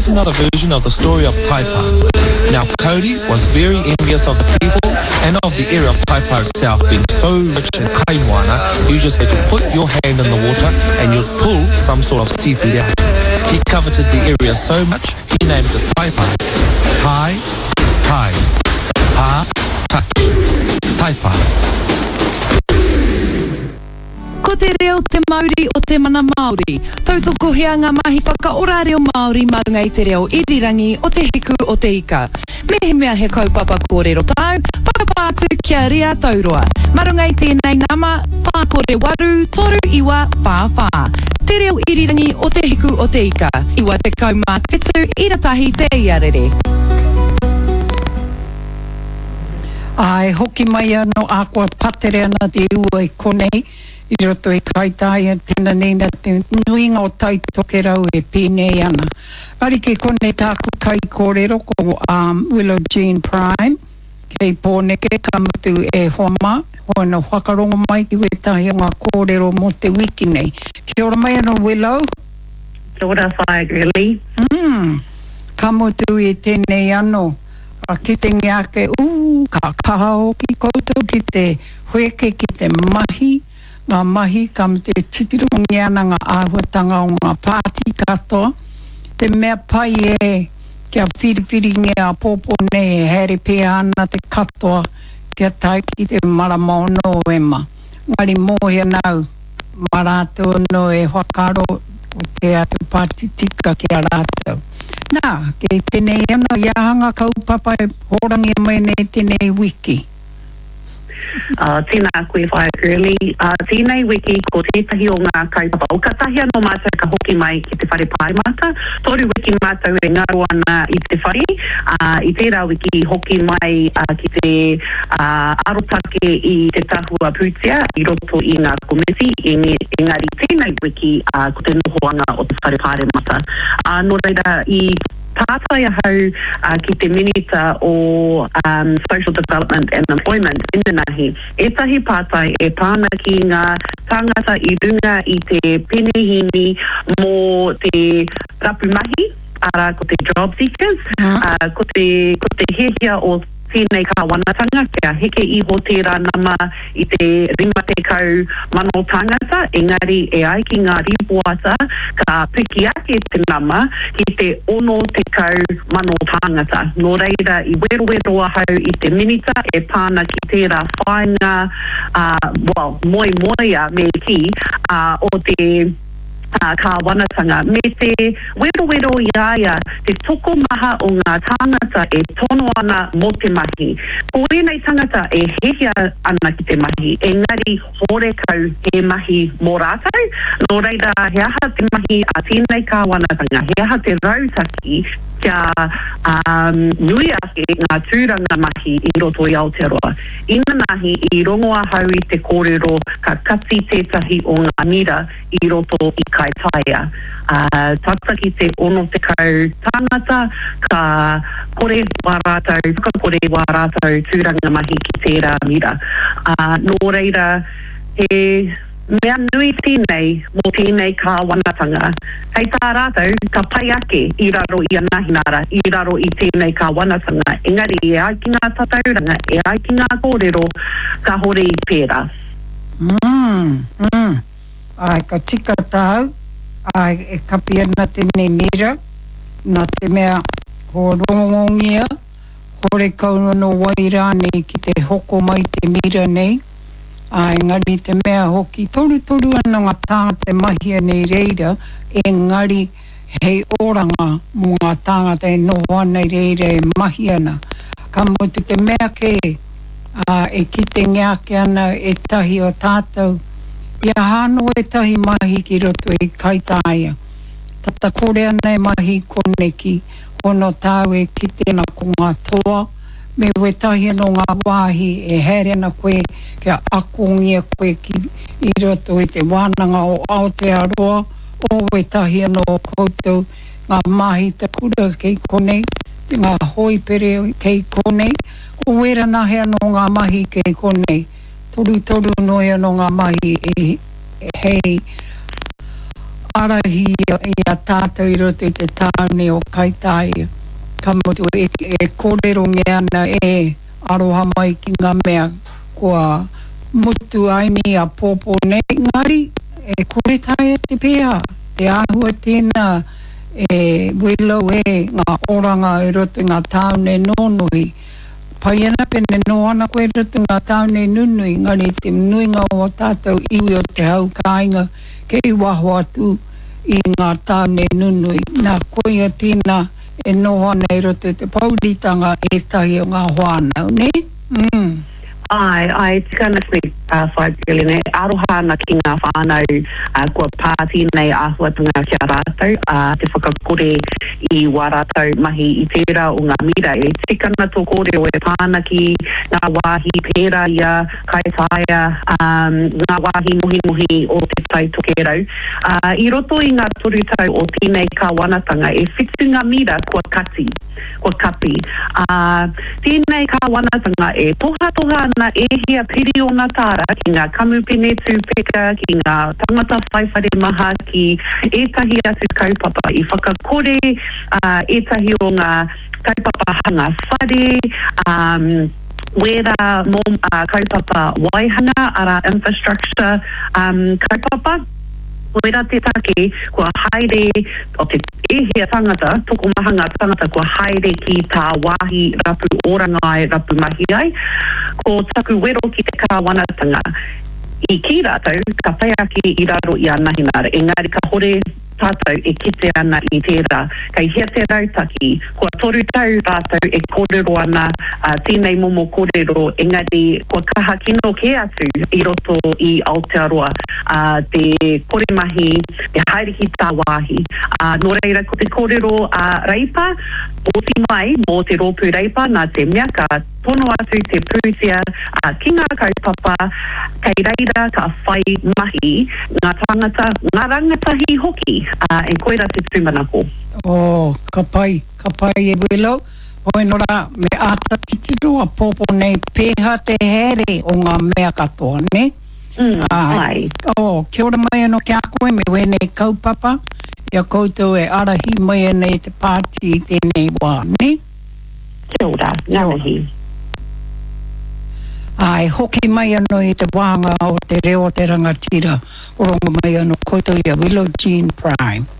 Here's another version of the story of Taipa. Now Kauri was very envious of the people and of the area of Taipa itself being so rich in kaimoana, you just had to put your hand in the water and you'd pull some sort of seafood out. He coveted the area so much, he named it Taipa. Tai, tai, pa, touch. Taipa. Ko te reo te mauri o te mana Māori. Tautokohia ngā mahi whakaora reo Māori mā runga i te reo irirangi o Te Hiku o Te Ika. Mehemea he kaupapa kōrero tāu, whakapā atu ki a Ria Tauroa. Mā runga i tēnei nama, 4 8 3 9 4 4. Te reo irirangi o Te Hiku o Te Ika, 97 ira tahi te iarere. Ā, e hoki mai anō, ahakoa patere ana te ua i konei, i roto i Kaitaia, tēnā nei nā te nuinga o Tai Tokerau e pēnei ana. Engari kei konei tāku kaikōrero ko Willow Jean Prime, kei Pōneke, ka mutu e hoa mā, hoi anō whakarongo mai ki wētahi o ngā kōrero mō te wiki nei. Kia ora mai anō Willow. Kia ora Whaea Girlie. Mm, ka mutu i tēnei anō. Ka kitengia ake, ū, ka kaha hoki koutou ki te wheke, ki te mahi, ngā mahi, ka mate e titirongia ana ngā āhuatanga o ngā pāti katoa. Te mea pai e, kia whiriwhiringia āpōpō nei e haere pēhea ana te katoa kia tae ki te marama o Nōema. Engari mōhio ana au, mā rātou anō e whakaaro ko te atu pāti tika ki a rātou. Nā, kei tēnei anō i aha ngā kaupapa e hōrangia mai nei tēnei wiki? Tēnā koe Whaea Girlie. Tēnei wiki ko tētahi o ngā kaupapa, o katahi anō mātou ka hoki mai ki te whare pāremata. Toru wiki mātou e ngaro ana i te whare, ā, i tērā wiki i hoki mai ki te arotake i te tahua pūtea i roto i ngā komiti, engari tēnei wiki ko te nohoanga o te Whare Pāremata. Nō reira, i pātai ahau ki te Minita o Social Development and Employment inanahi, ētahi pātai e pā ana ki ngā tāngata i runga i te penihīni mō te rapu mahi, arā ko te job seekers, ko te, ko te hiahia o tēnei kāwanatanga kia heke iho tērā nama i te 50,000 tāngata, engari e ai ki ngā rīpoata ka piki ake te nama ki te 60,000 tāngata. Nō reira i werowero ahau i te Minita e pā ana ki tērā whāinga, ā, well, moemoeā me kī, ā, o te. kāwanatanga, me te werowero i a ia te tokomaha o ngā tāngata e tono ana mō te mahi. Ko ēnei tangata e hiahia ana ki te mahi, engari horekau he mahi mō rātou. Nō reira, he aha te mahi a tēnei kāwanatanga, he aha te rautaki kia nui ake ngā tūranga mahi i roto i Aotearoa? Inanahi i rongo ahau i te kōrero ka kati tētahi o ngā mira i roto i Kaitaia. Ā, tata ki te 60 tāngata ka kore wā rātou, whakakore wā rātou tūranga mahi ki tērā mira. Ā, nō reira, he mea nui tēnei mō tēnei kāwanatanga. Hei tā rātou, ka pai ake i raro i a Nahinara, i raro i tēnei kāwanatanga, engari e ai ki ngā tatauranga, e ai ki ngā kōrero, kāhore i pērā. Mm, mm. Āe, ka tika tāu, āe, e kapi ana tēnei mira, nā te mea ko rongongia, horekau anō wai rānei ki te hoko mai te mira nei, āe, engari te mea hoki, torutoru ana ngā tāngata e mahia nei reira, engari hei oranga mō ngā tāngata e noho ana i reira e mahi ana. Ka mutu te mea kē, ā, e kitengia ake ana ētahi o tātou, i aha anō ētahi mahi ki roto i Kaitāia. Tata kore ana e mahi koneki, hono tāu e kite ana ko ngā toa, me wētahi anō ngā wāhi e haere ana koe kia akongia koe ki i roto i te Wānanga o Aotearoa, o wētahi anō o koutou, ngā māhita kura kei konei, ngā hōipere kei konei, ko wērā nahe anō ngā mahi kei konei, torutoru noi anō ngā mahi e hei. ārahi i a tātou i roto i te tāone o Kaitāia. Ka mutu, e, e kōrerongia ana e aroha mai ki ngā mea kua mutu ai ni āpōpō nei, engari e kore taea te pēhā, te āhua tēnā e Willow e ngā oranga i roto i ngā tāone nōnohi. Pai ana pene noho ana koe i roto i ngā tāone nunui, engari te nuinga o ō tātou iwi o te hau kāinga kei waho atu i ngā tāone nunui. Nā, koia tēnā e noho ana i roto i te pouritanga ētahi o ngā whānau, nē? Mm. Āe, āe, e tika ana koe, Whaea Gillian, e aroha ana ki ngā whānau kua pā tēnei āhuatanga ki a rātou, ā, te whakakore i wā rātou mahi i tērā o ngā mira. E tika ana tō kōrero e pā ana ki ngā wāhi pērā i a Kaitaia, ā, ngā wāhi nohinohi o Te Tai Tokerau. Ā, i roto i ngā toru tau o tēnei kāwanatanga, e whitu ngā mira kua kati. Kua kapi, ā, tēnei kāwanatanga e tohatoha ana e hia piriona tāra ki ngā kamupene tūpeka, ki ngā tangata whai whare maha, ki ētahi atu kaupapa i whakakore, ā, ētahi o ngā kaupapa hanga whare, ā, wērā mō, ā, kaupapa waihanga, arā, infrastructure, ā, kaupapa. Koirā te take kua haere o te E hia tangata, tokomaha ngā tangata kua haere ki tāwāhi rapu oranga ai, rapu mahi ai. Ko taku wero ki te kāwanatanga, i kī rātou ka pai ake i raro i a Nahinara, engari kahore tātou e kite ana i tērā. Kei hea te rautaki? Kua toru tau rātou e kōrero ana tēnei momo kōrero, engari kua kaha kino kē atu i roto i Aotearoa te kore mahi, te haere ki tāwāhi. Ā, nō reira, ko te kōrero a Reipa, oti mai mō te rōpū Reipa, nā te mea ka tono atu te pūtea ki ngā kaupapa, kei reira ka whai mahi ngā tāngata, ngā rangatahi hoki, ā, e koirā te tūmanako. Oh, ka pai, ka pai e Willow. Hoi no ra, me āta titiro a pōpō nei pēhā te haere o ngā mea katoa, nē? Mm, āe. Oh, kia ora mai anō ki a koe me wēnei kaupapa i a koutou e ārahi mai ana i te pāti i tēnei wā, nē? Kia ora, ngā mihi. Āe, hoki mai anō i te wāhanga o te reo o te rangatira, rongo mai anō koutou i a Willow Jean Prime.